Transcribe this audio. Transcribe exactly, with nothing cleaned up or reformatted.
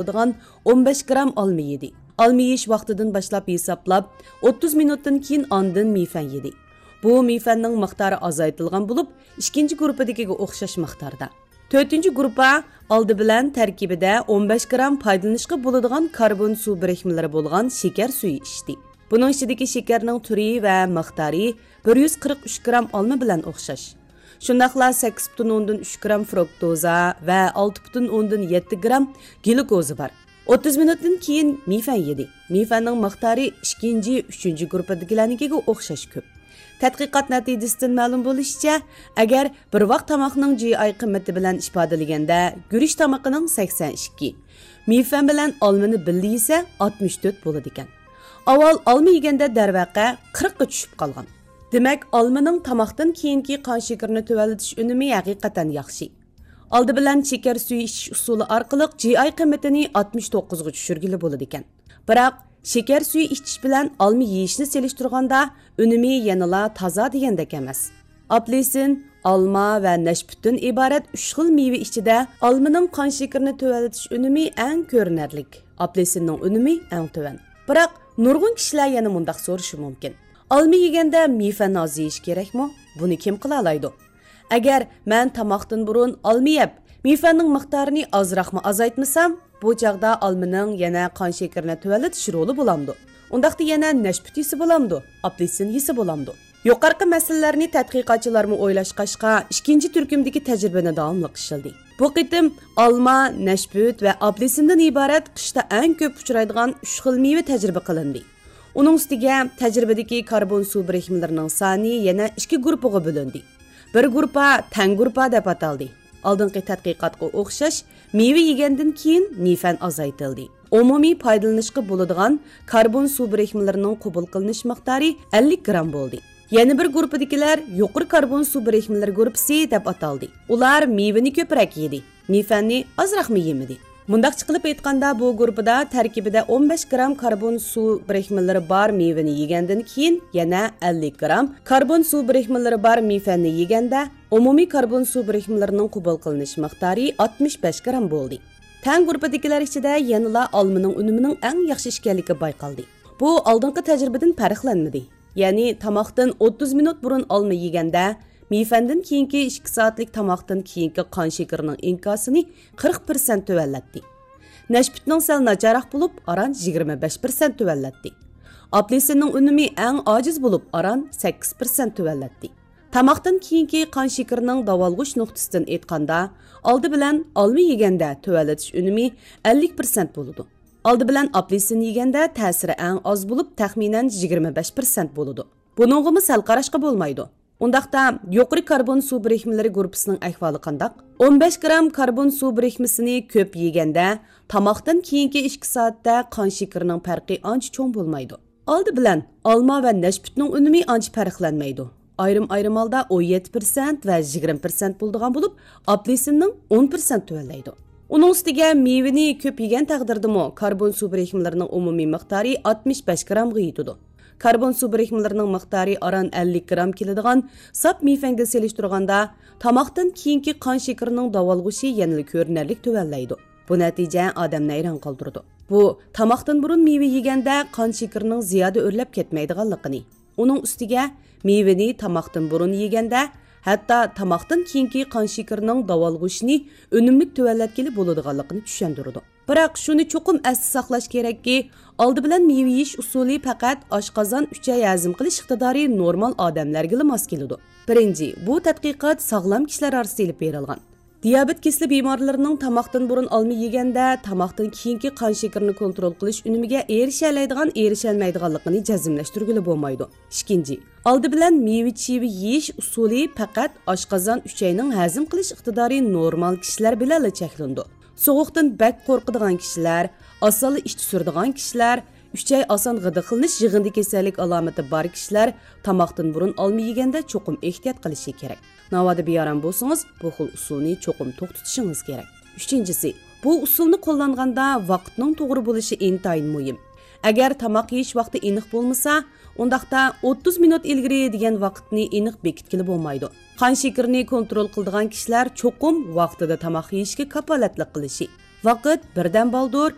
بولىدىغان ئون بەش گرام ئالما يېدى. ئالما يېيىش ۋاقتىدىن باشلاپ ھېسابلاپ، ئوتتۇز مىنۇتتىن كېيىن ئاندىن مىفەن يېدى. بۇ مىفەننىڭ مىقدارى ئازايتىلغان بولۇپ، ئىككىنچى گۇرۇپپىدىكىگە ئوخشاش مىقداردا. تۆتىنچى گۇرۇپپا ئالدى بىلەن تەركىبىدە ئون بەش گرام پايدىلىنىشقا بولىدىغان كاربون سۇ بىرىكمىلىرى بولغان شېكەر سۈيى ئىچتى. بۇنىڭ ئىچىدىكى شېكەرنىڭ تۈرى ۋە مىقدارى بىر يۈز قىرىق ئۈچ گرام ئالما بىلەن ئوخشاش. شۇنداقلا سەككىز پۈتۈن ئوندىن ئۈچ گرام فرۇكتوزا ۋە ئالتە پۈتۈن ئوندىن يەتتە گرام گلۇكوزا بار. ئوتتۇز مىنۇتتىن كېيىن مىفەن يېدى. مىفەننىڭ مىقدارى ئىككىنچى، ئۈچىنچى گۇرۇپپىدىكىلەرنىڭكىگە ئوخشاش كۆپ. تەتقىقات نەتىجىسىدىن مەلۇم بولۇشىچە، ئەگەر بىر ۋاق تاماقنىڭ جى ئاي قىممىتى بىلەن ئىپادىلىگەندە، گۈرۈچ تامىقىنىڭ سەكسەن ئىككى، مىفەن بىلەن ئالمىنى بىللە يېسە، ئاتمىش تۆت بولىدىكەن. ئاۋۋال ئالما يېگەندە، دەرۋەقە، قىرىققا چۈشۈپ قالغان. دېمەك، ئالمىنىڭ تاماقتىن كېيىنكى قان شېكىرىنى تۆۋەنلىتىش ئۈنۈمى ھەقىقەتەن ياخشى. ئالدى بىلەن شېكەر سۈيى ئىچىش ئۇسۇلى ئارقىلىق جى ئاي قىممىتىنى ئاتمىش توققۇزغا چۈشۈرگىلى بولىدىكەن. بىراق، شېكەر سۈيى ئىچىش بىلەن ئالما يېيىشنى سېلىشتۇرغاندا، ئۈنۈمى يەنىلا تازا دېگەندەك ئەمەس. ئاپېلسىن، ئالما ۋە نەشپۈتتىن ئىبارەت ئۈچ خىل مېۋە ئىچىدە ئالمىنىڭ قان شېكىرىنى تۆۋەنلىتىش ئۈنۈمى ئەڭ كۆرۈنەرلىك، ئاپېلسىننىڭ ئۈنۈمى ئەڭ تۆۋەن. بىراق، نۇرغۇن كىشىلەر يەنە مۇنداق سورىشى مۇمكىن: ئالما يېگەندە مىفەن ئاز يېيىش كېرەكمۇ؟ بۇنى كىم قىلالايدۇ؟ ئەگەر مەن تاماقتىن بۇرۇن ئالما يەپ، مىفەننىڭ مىقدارىنى ئازراقمۇ ئازايتمىسام، بۇ چاغدا ئالمىنىڭ يەنە قان شېكىرىنى تۆۋەنلىتىش رولى بولامدۇ؟ ئۇنداقتا يەنە نەشپۈت يېسە بولامدۇ؟ ئاپېلسىن يېسە بولامدۇ؟ يۇقىرىقى مەسىلىلەرنى تەتقىقاتچىلارمۇ ئويلاشقاچقا، ئىككىنچى تۈركۈمدىكى تەجرىبىنى داۋاملىق ئىشلىدى. بۇ قېتىم ئالما، نەشپۈت ۋە ئاپېلسىندىن ئىبارەت قىشتا ئەڭ كۆپ ئۇچرايدىغان ئۈچ خىل مېۋە تەجرىبە قىلىندى. ئۇنىڭ ئۈستىگە تەجرىبىدىكى كاربون سۇ بىرىكمىلىرىنىڭ سانى يەنە ئىككى گۇرۇپپىغا بۆلۈندى. بىر گۇرۇپپا تەڭ گۇرۇپپا دەپ ئاتالدى. ئالدىنقى تەتقىقاتقا ئوخشاش، مېۋە يېگەندىن كېيىن مىفەن ئازايتىلدى. ئومۇمىي پايدىلىنىشقا بولىدىغان كاربون سۇ بىرىكمىلىرىنىڭ قوبۇل قىلىنىش مىقدارى ئەللىك گرام بولدى. يەنە بىر گۇرۇپپىدىكىلەر يۇقىرى كاربون سۇ بىرىكمىلىرى گۇرۇپپىسى دەپ ئاتالدى. ئۇلار مېۋىنى كۆپرەك يېدى، مىفەننى ئازراقمۇ يېمىدى. مۇنداقچە قىلىپ ئېيتقاندا، بۇ گۇرۇپپىدا تەركىبىدە ئون بەش گرام كاربون سۇ بىرىكمىلىرى بار مېۋىنى يېگەندىن كېيىن يەنە ئەللىك گرام كاربون سۇ بىرىكمىلىرى بار مىفەننى يېگەندە، ئومۇمىي كاربون سۇ بىرىكمىلىرىنىڭ قوبۇل قىلىنىش مىقدارى ئاتمىش بەش گرام بولدى. تەڭ گۇرۇپپىدىكىلەر ئىچىدە يەنىلا ئالمىنىڭ ئۈنۈمىنىڭ ئەڭ ياخشى ئىكەنلىكى بايقالدى. بۇ ئالدىنقى تەجرىبىدىن پەرقلەنمىدى. يەنى تاماقتىن ئوتتۇز مىنۇت بۇرۇن ئالما يېگەندە، مىفەندىن كېيىنكى ئىككى سائەتلىك تاماقتىن كېيىنكى قان شېكىرىنىڭ ئىنكاسىنى قىرىق پىرسەنت تۆۋەنلەتتى. نەشپۈتنىڭ سەل ناچارراق بولۇپ، ئاران يىگىرمە بەش پىرسەنت تۆۋەنلەتتى. ئاپېلسىننىڭ ئۈنۈمى ئەڭ ئاجىز بولۇپ، ئاران سەككىز پىرسەنت تۆۋەنلەتتى. تاماقتىن كېيىنكى قان شېكىرىنىڭ داۋالغۇش نۇقتىسىدىن ئېيتقاندا، ئالدى بىلەن ئالما يېگەندە تۆۋەنلىتىش ئۈنۈمى ئەللىك پىرسەنت بولىدۇ. ئالدى بىلەن ئاپېلسىن يېگەندە تەسىرى ئەڭ ئاز بولۇپ، تەخمىنەن يىگىرمە بەش پىرسەنت بولىدۇ. بۇنىڭغىمۇ سەل قاراشقا بولمايدۇ. ئۇنداقتا، يۇقىرى كاربون سۇ بىرىكمىلىرى گۇرۇپپىسىنىڭ ئەھۋالى قانداق؟ ئون بەش گرام كاربون سۇ بىرىكمىسىنى كۆپ يېگەندە، تاماقتىن كېيىنكى ئىككى سائەتتە قان شېكىرىنىڭ پەرقى ئانچە چوڭ بولمايدۇ. ئالدى بىلەن ئالما ۋە نەشپۈتنىڭ ئۈنۈمى ئانچە پەرقلەنمەيدۇ. ئايرىم-ئايرىم ھالدا ئون يەتتە پىرسەنت ۋە يىگىرمە پىرسەنت بولىدىغان بولۇپ، ئاپېلسىننىڭ ئون پىرسەنت تۆۋەنلەيدۇ. ئۇنىڭ ئۈستىگە مېۋىنى كۆپ يېگەن تەقدىردىمۇ كاربون سۇ بىرىكمىلىرىنىڭ ئومۇمىي مىقدارى ئاتمىش بەش گرامغا يېتىدۇ. كاربون سۇ بىرىكمىلىرىنىڭ مىقدارى ئاران ئەللىك گرام كېلىدىغان ساپ مىفەنگە سېلىشتۇرغاندا، تاماقتىن كېيىنكى قان شېكىرىنىڭ داۋالغۇشى يەنىلا كۆرۈنەرلىك تۆۋەنلەيدۇ. بۇ نەتىجە ئادەمنى ھەيران قالدۇرىدۇ. بۇ، تاماقتىن بۇرۇن مېۋە يېگەندە قان شېكىرىنىڭ زىيادە ئۆرلەپ كەتمەيدىغانلىقىنى، ئۇنىڭ ئۈستىگە مېۋىنى تاماقتىن بۇرۇن يېگەندە، ھەتتا تاماقتىن كېيىنكى قان شېكىرىنىڭ داۋالغۇشىنى ئۈنۈملۈك تۆۋەنلەتكىلى بولىدىغانلىقىنى چۈشەندۈرىدۇ. بىراق، شۇنى چوقۇم ئەستە ساقلاش كېرەككى، ئالدى بىلەن مېۋە يېيىش ئۇسۇلى پەقەت ئاشقازان، ئۈچەي ھەزىم قىلىش ئىقتىدارى نورمال ئادەملەرگىلا ماس كېلىدۇ. بىرىنچى، بۇ تەتقىقات ساغلام كىشىلەر ئارىسىدا ئېلىپ بېرىلغان. دىيابېت كېسىلى بىمارلىرىنىڭ تاماقتىن بۇرۇن ئالما يېگەندە، تاماقتىن كېيىنكى قان شېكىرىنى كونترول قىلىش ئۈنۈمىگە ئېرىشەلەيدىغان، ئېرىشەلمەيدىغانلىقىنى جەزملەشتۈرگىلى بولمايدۇ. ئىككىنچى، ئالدى بىلەن مېۋە-چىۋە يېيىش ئۇسۇلى پەقەت ئاشقازان، ئۈچەينىڭ ھەزىم قىلىش ئىقتىدارى نورمال كىشىلەر بىلەنلا چەكلىنىدۇ. سوغۇقتىن بەك قورقىدىغان كىشىلەر، ئاسانلا ئىچ سۈرىدىغان كىشىلەر، ئۈچەي ئاسان غىدىقلىنىش يىغىندى كېسەللىك ئالامىتى بار كىشىلەر تاماقتىن بۇرۇن ئالما يېگەندە چوقۇم ئېھتىيات قىلىشى كېرەك. ناۋادا بىئارام بولسىڭىز، بۇ خىل ئۇسۇلنى چوقۇم توختىتىشىڭىز كېرەك. ئۈچىنچىسى، بۇ ئۇسۇلنى قوللانغاندا ۋاقىتنىڭ توغرا بولۇشى ئىنتايىن مۇھىم. ئەگەر تاماق يېيىش ۋاقتى ئېنىق بولمىسا، ئۇنداقتا ئوتتۇز مىنۇت ئىلگىرى دېگەن ۋاقىتنى ئېنىق بېكىتكىلى بولمايدۇ. قان شېكىرىنى كونترول قىلىدىغان كىشىلەر چوقۇم ۋاقتىدا تاماق يېيىشكە كاپالەتلىك قىلىشى، ۋاقىت بىردەم بالدۇر،